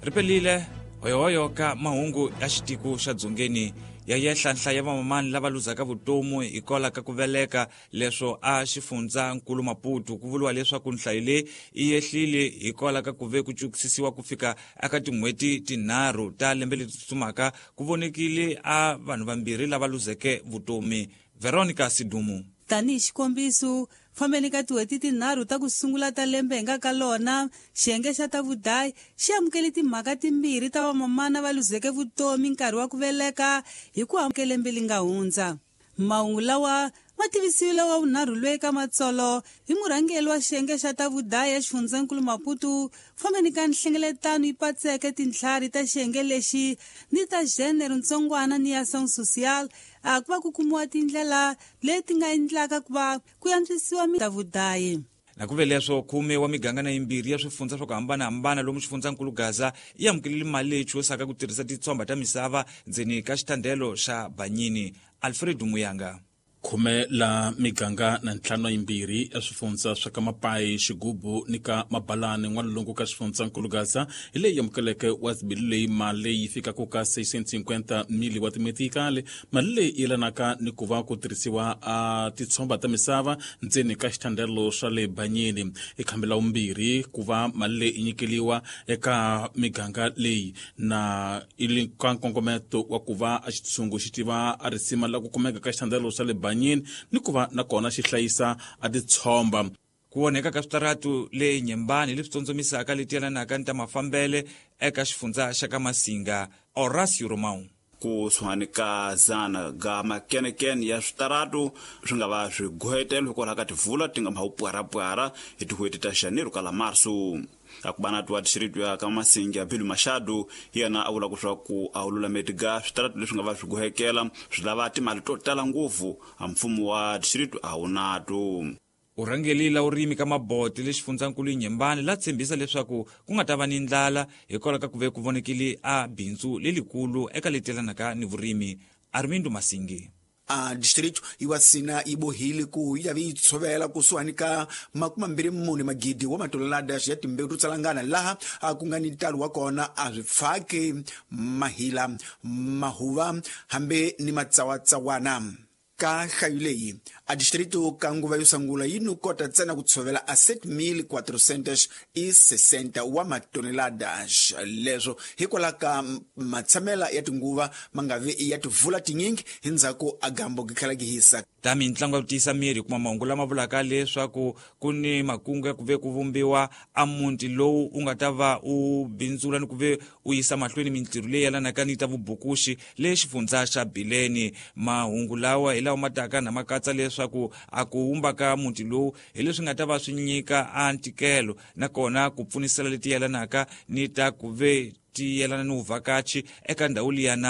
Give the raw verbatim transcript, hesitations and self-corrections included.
Ripelile hoyohoyo ka mahungu ya xitiko xa dzongeni ya yehla nhlayo ya vamamani lava luzaka vutomi hikwalaho ka ku veleka leswo a xifundza nkulu Maputo. Ku vuriwa leswaku nhlayo leyi yi yehlile hikwalaho ka ku ve ku cukisisiwa ku fika eka tin'hweti tinharhu ta lembe leri tsutsumaka, ku vonekile a vanhu vambirhi lava luzeke vutomi. Veronica Sidumu. Tanihi xikombiso, fambeni ka tin'hweti tinharhu ta ku sungula ta lembe hi nga ka lona, xiyenge xa ta vudayi xi amukele timhaka timbirhi ta vamamana va luzeke vutomi nkarhi wa ku veleka hi ku amukela lembe li nga hundza. Mahungu lawa ma tivisiwile wa vunharhu loyi ka matsolo hi murhangeri wa xiyenge xa ta vudayi exifundzhankulu Maputo, fambeni ka nhlengeletano yi patseke tintlhari ta xiyenge lexi ni ta gênero ntsongwana ni ya ação social, a ku va ku kumiwa tindlela leti nga endlaka ku va ku antswisiwa ta vudayi. Na ku ve leswo khume wa miganga na yimbirhi ya swifundza swa ku hambanahambana lomu xifundzankulu Gaza yi amukelile mali leyi chuwisaka ku tirhisa titshomba ta misava ndzeni ka xitandelo xa Banyini. Alfred Muyanga. Khume la miganga na ntlhanu yimbirhi ya swifundza swa ka Mapayi, Xigubu ni ka Mabalani n'walungu ka xifundzankulu Gaza hi leyi amukeleke wa zibili leyi mali leyi fikaka ka seiscentos e cinquenta mili wa timetikali. Mali leyi yelanaka ni ku va ku tirhisiwa a titshomba ta misava ndzeni ka xitandelo swa le Banyini. I khambi la vumbirhi ku va mali leyi nyikeliwa eka miganga leyi na ili ka nkongometo wa ku va a xitshungu xi tiva a risima la ku kumeka ka xitandelo swa le Banyini ni ku va na kona xi hlayisa a titshomba. Ku onheka ka switaratu le Nyembani leswi tsondzomisaka leti yelanaka ni ta mafambele eka xifundza xa ka Masinga. Horacio Romão. Ku suhani ka zana ga makenekene ya switaratu swi nga va swi gohetelo hikwalaho ka tivula ti nga ma pwarapwara hi tin'hweti ta janeiro ka la marso. Akubana twa distrito ya ka Masinga Bilu Machado yena a vula leswaku a lulameti ga switaratu leswi nga va swi gohekela swi lava timali to tala ngopfu, a mfumo wa distrito a wu nato. Urhangeli la urimi ka Mabote le xifundzankulu Nyembani la tshembisa leswaku ku nga ta va ni ndlala hikwalaho ka ku ve ku vonekile a bindzu lelikulu eka leti yelanaka ni vurimi. Armindo Masingi. A distrito iwasina ibohile ku yi vi tshovela kusuhani ka makumi mambirhi mune magidi wa matolelada ya timbewu to tsalangana laha a ku nga ni ntalo wa kona a swi pfaki mahila mahuva hambi ni matsawatsawana. Ka nhlayo leyi a distrito ka nguva yo sungula yi no kota ntsena ku tshovela a sete mil quatrocentos e sessenta wa matoneladas. Leswo hikwalaho ka matshamela ya tinguva ma nga vi ya tivula tinyingi hi ndzhaku a gambo gi tlhela gi hisa. Ta mitlangu ya ku tiyisa miri kuma mahungu lama vulaka leswaku ku ni makungu ya ku ve ku vumbiwa a muti lowu u nga ta va u bindzula ni ku ve u yisa mahlweni mintirho leyi yelanaka ni ta vubukuxi le xifundza xa Bileni. Mahungu lawa hi lawa ma taka na ma katsa leswaku a ku wumba ka muti lowu hi leswi nga ta va swi nyika a ntikelo nakona ku pfunisela leti yelanaka ni ta ku ve ti yelana ni vuvhakachi eka ndhawu liyana.